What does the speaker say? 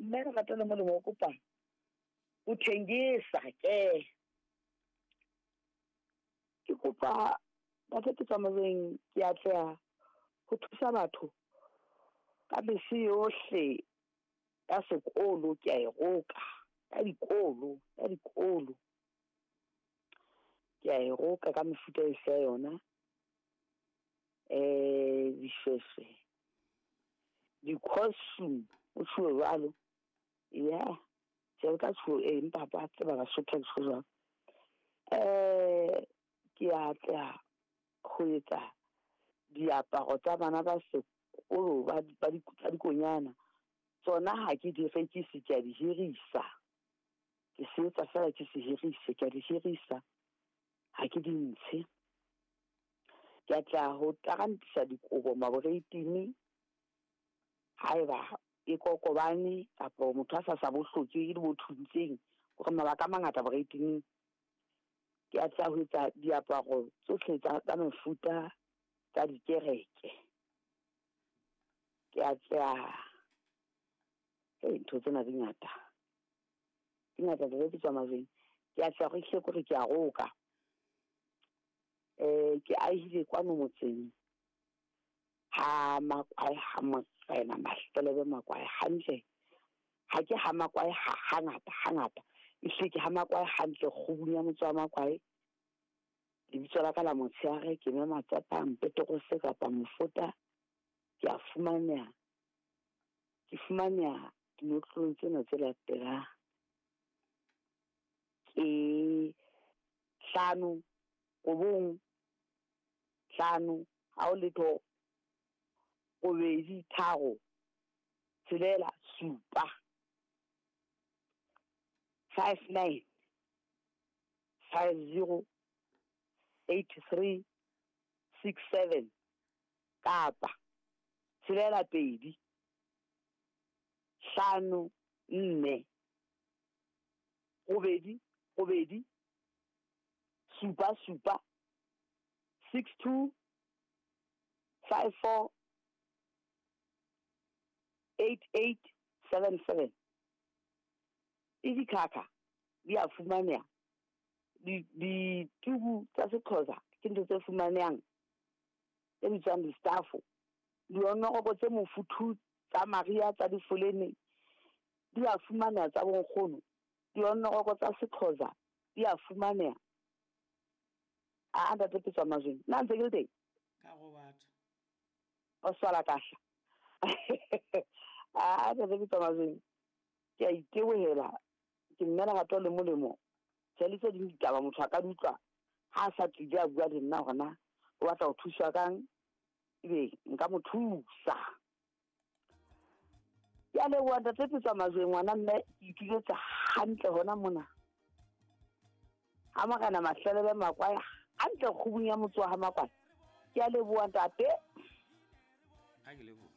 Mme lerato le molemo o kopa o thengisa ke. Ke kopa ntate ke tswa moyeng, ke atleha ho thusa batho ka mese yohle ya sekolo ke a e roka. Ya dikolo, ya dikolo. Ke a e roka ka mefuta yohle ya yona. Dishweshwe, di-costume ho tjhuwe jwalo. Ya, tjhe ho tjhuwo empa ba tseba Basotho ha ke tjho jwalo. Ke atleha ho etsa diaparo tsa bana ba sekolo ba tsa dikonyana. Tsona ha ke di rekise, ke a di hirisa. Ke se etsa feela ke se hirise. Ke a di hirisa, ha ke di ntshe. Ke atleha ho tarantisa dikobo maboreitene. Haeba e kokobane kapa motho a sa bo hloke e le bo thuntseng. Hore mabaka a mangata boreiteneng. Ke atleha ho etsa diaparo tsohle tsa mefuta tsa dikereke. Ke atleha, ntho tsena di ngata. Di ngata Ntate Pitso Majweng. Ke atleha hore ehlile ke hore ke a roka. Ke ahile kwano motseng ha Makwae ha Morena Mahlelebe Makwae hantle. Ha ke ha Makwae ha hangata hangata. Ehlile ke ha Makwae hantle kgubung ya motse wa Makwae. Lebitso la ka la motshehare ke mme Matsapang Petrose kapa Mofota. Ke a fumaneha. Ke fumaneha dinotlolong tsena tse latelang. Ke 5 9 5 ha ho letho 8 3 6 7. 5 9 5 0 8 3 6 7 kapa 6 2 5 4 8 8 7 7 6 2 5 4 8 8 7 7. Le dikhakha di a fumaneha. Ditubu tsa Sexhosa ke ntho tse fumanehang tse bitswang di-staff. Dionoroko tse mofuthu tsa mariha tsa difolene di a fumaneha tsa bonkgono. Dionoroko tsa Sexhosa di a fumaneha. A ntate Pitso Majweng, nna ntse ke le teng? Ka go batho. O swala kahla. A ntate Pitso Majweng, ke a itebohela. Ke mme lerato le molemo. Tjhe, le tse ding ditaba motho a ka di utlwa ha a sa tlile a bua le nna hore na o batla ho thuswa kang, ebe nka mo thusa. Ke a leboha ntate Pitso Majweng, ngwana mme ke ituletse hantle hona mona. Ha Morena Mahlelebe Makwae hantle kgubung ya motse wa ha Makwae. Ke a leboha ntate. Ha ke leboha.